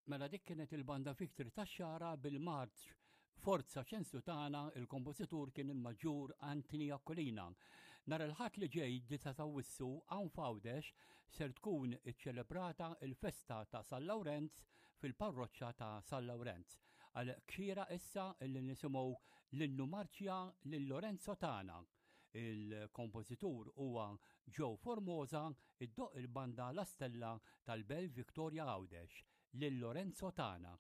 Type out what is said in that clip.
Mela dik kienet il-banda Victory tax-Xagħra bil-marċ Forza Ċensu Tagħna, il-kompożitur kien il-Maġġur Anthony Aquilina. Nhar il-Ħadd li ġej, 9 ta' Awwissu, hawn f'Għawdex ser tkun iċċelebrata l-festa ta' San Lawrenz fil-parroċċa ta' San Lawrenz. Għalhekk xieraq issa li nisimgħu l-innu marċja lil Lorenzo tagħna. Il-kompożitur huwa Joe Formosa, iddoqq il-banda La Stella tal-Belt Victoria Għawdex, lil Lorenzo tagħna.